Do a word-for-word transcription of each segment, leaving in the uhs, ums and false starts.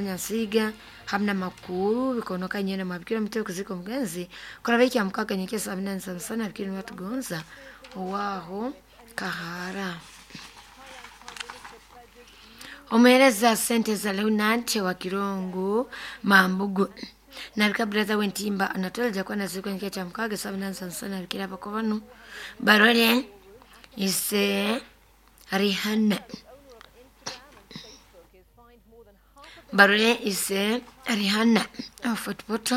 Nyansiga hamna makuru bikonoka nyene mabikira mutwe kuzika omugenzi kuraba ekya mukaga nyekesa binani sana sana bikira batugonza owaho kahara. Omuhereza sente za Leonard wa Kirongo Mambugu nabika brother wentimba anatolja kwa naziko nyekesa cha mukaga sabinani sana sana bikira bakobanu barole ise Rihanna barole ise Rihanna Fort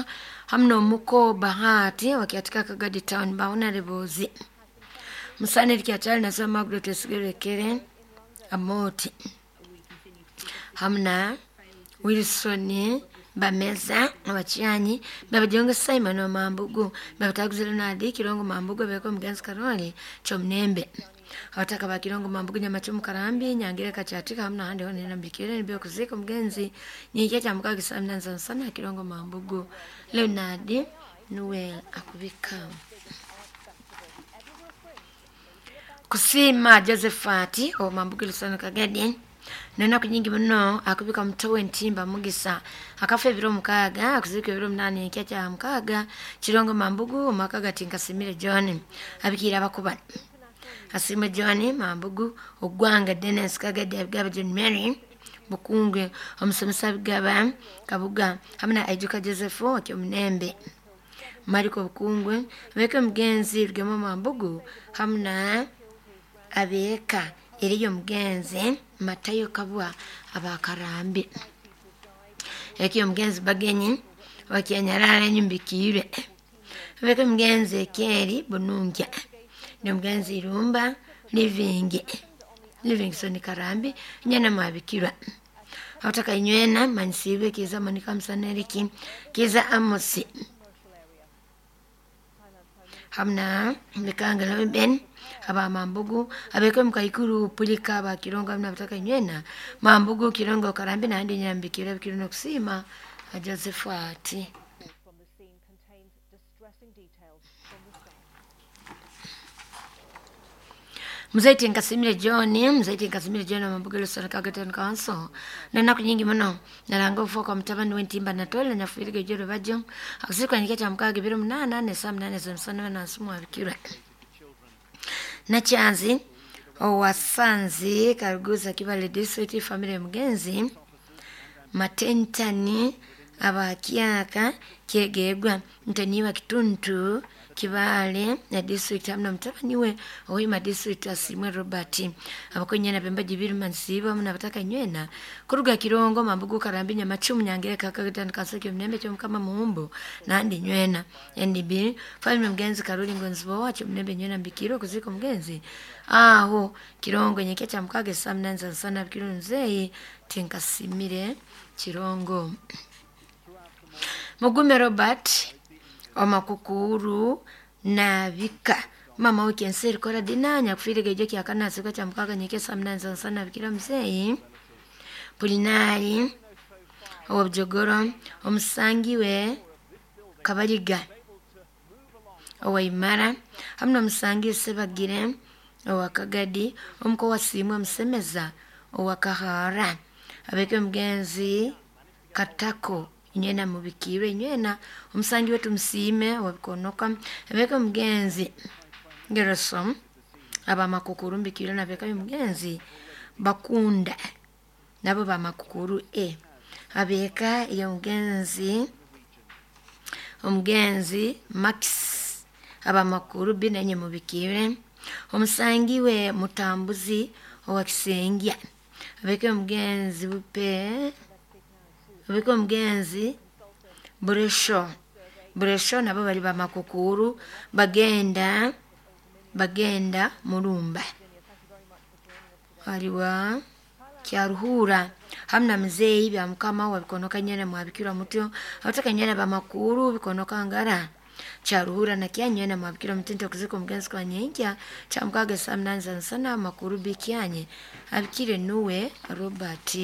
hamno muko Bahati wakiatika Kagadi Town baona rebozi musane likiachali nasema Margaret Esigerekere Amoti hamna Wilson bameza abacyanyi babajonga Simon wa Mambugu babataguze Leonard Kirongo Mambugu beko mugenzi Karoli Chomnembe abataka ba Kirongo Mambugu Nyamachumu Karambi Nyangire Kachatika hamna hande hone nambikire nibyo kuzika mugenzi nyike cha mukaga samna sana sana Kirongo Mambugu Leonard Noel akubika kusima Josephati o Mambugu Lusano Kagadi nenaku nyingi muno akubika mutowe ntimba mugisa akafa ebiro mukaaga akuzika ebiro munani ekya kya mukaaga Kirongo Mambugu omwaka tinkasimire John abikiira abakuba Asime John Mambugu ogwanga Dennis Kagadi abigaba John Mary Bukungwe omusomesa abigaba Kabuga hamwe na Aijuka Joseph Okyomunembe Mariko Bukungwe abeke omugenzi Rugema Mambugu hamwe na abeeka eriyo omugenzi Matayo Kabwa abakarambi ekiyo omugenzi Bagenyi wakyanyarara enyumbikiire abeke omugenzi Ekyeri Bunungya n'omugenzi Irumba Livingi Livingstone Karambi nyana mwabikirwa abataka inywena manisiibwe Kiza Monica Musaneriki Kiza Amosi hamna Mikanga Ben aba Mambugu abeke mukaikuru pulika aba Kirongo hamna abataka inywena Mambugu Kirongo Karambi nandi nyambikira bikiro nokusima Joseph ati from the scene contains distressing details from the start. Mzaiti Nkasimire John, Mzaiti Nkasimire John Mambugu Lusano Kagaton Council. Nenaku nyingi muno nalanga ufuka kwa mutabani wentimba natole nafwirige joro bajo akusikwa nyike cha mukaga biro munana ne saa munane za musana na nsumu abikirwa Nakyanzi owasanzi Karuguza Kibale District family mugenzi Matentani abakyaka kyegegwa ntaniwa Kituntu Kibale na district hamna mutabani we owima district asimwe Robert abakonyana bemba jibiri mansiba hamna bataka nywena kuruga Kirongo Mambugu Karambi Nyamachumu Nyangere Kakagitan Kaseke Mnembe Chomkama Muumbo nandi nywena N D B family mgenzi Karoli Ngonzibo wacho Mnembe nywena mbikiro kuziko mgenzi aho Kirongo nyeke cha mukage saa munane za sana bikiro nzeyi tinkasimire Kirongo Mugume Robert omakukuru nabika mama wikenseri kora dinanya kufirika ijo kyakana sika cha mukaga nyeke saa munane za sana bikira mzeyi Pulinari owobujogoro omusangiwe Kabaliga owaimara hamwe omusangi Sebagire owakagadi omuko wasimwe Musemeza owakahara abeke omugenzi Katako inywena mubikirwe inywena omusangi wetu musiime wabikonoka abeke omugenzi Gerosom abamakukuru mbikirwe nabeka omugenzi Bakunda nabo bamakukuru e abeka iyo omugenzi omugenzi Max abamakuru b nenye mubikire omusangi we Mutambuzi owakisengya abeke omugenzi Bupe abeke omugenzi Buresho Buresho nabo bali bamakukuru bagenda bagenda Murumba aliwa Kyaruhura hamna mzeyi bya mukama wabikonoka nyene mwabikirwa mutyo abataka nyene bamakuru bikonoka ngara Kyaruhura na kyanyene mwabikirwa mutento kuziko mugenzi kwa nyenkya cha mukaga saa munane za nsana makuru bikyanye abikire nuwe Robert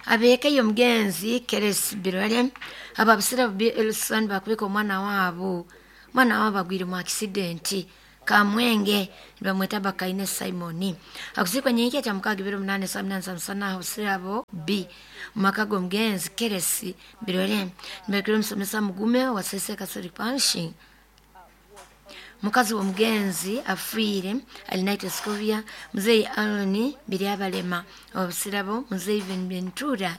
abeke yo mugenzi Keres Birole ababisira bi Elson bakubika omwana wabo mwana wabo agwire mu accident Kamwenge nibamweta Bakaine Simoni. Akuzikwa nyenkya kya mukaaga ibiri omunana saa munana za musana aho Busirabo B mumaka g'omugenzi Keresi Birore. Nibakira omusomesa Mugume wa Sese Catholic Parish. Mukazi w'omugenzi afiire Alinaite Scovia, Muzeyi Aaron Biryabalema owa Busirabo, Muzeyi Ventura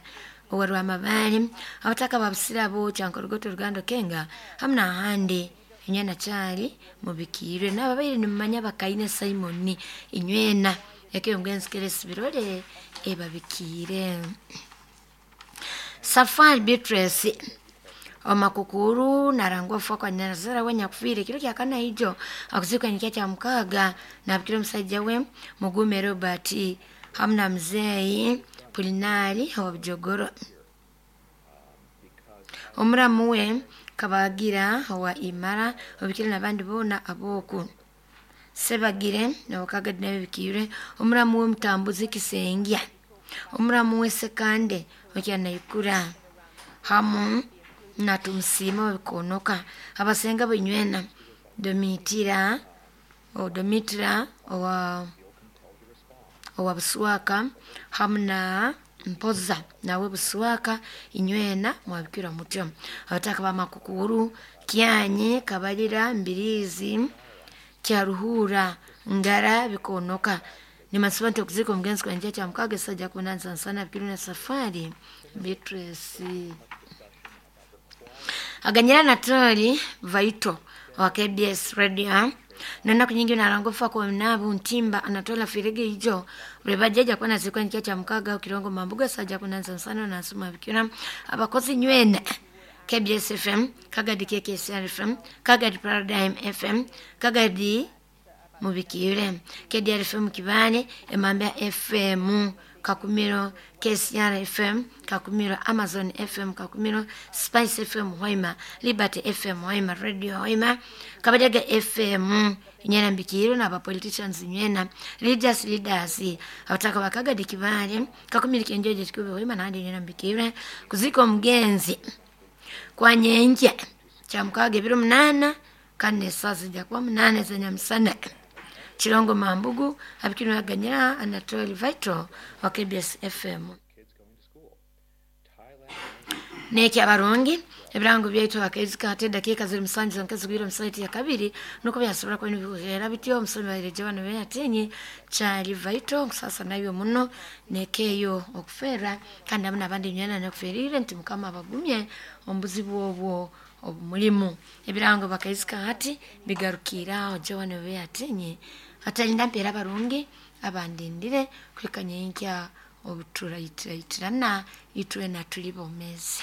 owa Rwamabare, abataka ba Busirabo, Kyankorogoto, Rugando, Kenga hamu n'ahandi. Inywena kyali mubikiirwe n'ababaire nimumanya Bakaine Simoni inywena eka y'omugenzi Keresi Birore ebabikiire. Safari Beatrice omakukuru narangwa ofa kwa nyazara we nyakufiire kiro kya kana ijo akuzikwa nikya kya mukaaga nabikira omusajja we Mugume Robert hamu na muzeeyi Pulinari owa Bujogoro. Omuramu we Kabagira owa Imara obikire n'abandi boona abooku. Sebagire nabakagadi nabikiire omuramu we Mutambuzi Kisengya, omuramu we Sekande okyanaikura hamu na Tumusiima wabikonoka. Abasenga benywena Domitira o Domitira owa owa Buswaka hamu na Mpoza nawe Buswaka inywena mwabikira mutyo. Abataka ba Makukuru Kyanye Kabalira Mbirizi Kyaruhura Ngara bikonoka. Nimasiba nti okuzika omugenzi kwa kya mukaaga esajja kunanza nsana bikiri na Safari Beatrice. Aganyira Natoli Vaito wa K B S Radio. Nona kunyingi narangofa kwa mnabu ntimba anatola firege ijo ulebajaja kwa nazikwa nikia cha mkaga ukirongo mambuga saja kunanza nsana na suma bikira abakozi nywene K B S F M, Kagadi K K S R F M, Kagadi Paradigm F M, Kagadi mubikire K D R F M Kibale, Emambia F M Kakumiro, K C R F M Kakumiro, Amazon F M Kakumiro, Spice F M Hoima, Liberty F M Hoima, Radio Hoima, Kabadega F M inyena mbikiro na politicians nywena leaders leaders abataka bakagadi Kibale Kakumiro kenjeje kikube Hoima na inyena mbikiro kuziko mgenzi kwa nyenje cha mukaaga ebiro munana kane sasa jakuwa munane za nyamsana. Chirongo Mambugu abikino aganyira Anatoli Vital wa K B S F M. Neki abarungi ebirango byaitu akaizika ate dakika ziri musanju zankazi gwira musaiti ya kabiri nuko byasobora kwenu bihera bityo omusomi bayireje bano beyatinye kyali Vital sasa nabyo muno nekeyo okufera kandi abana abandi nyana nokuferire nti mukama abagumye ombuzibu obwo obumulimu ebirango bakaizika hati bigarukira ojo bano beyatinye atalinda mpera abarungi abandindire kwikanya inkya obutura itira itirana itwe na tuli bomezi.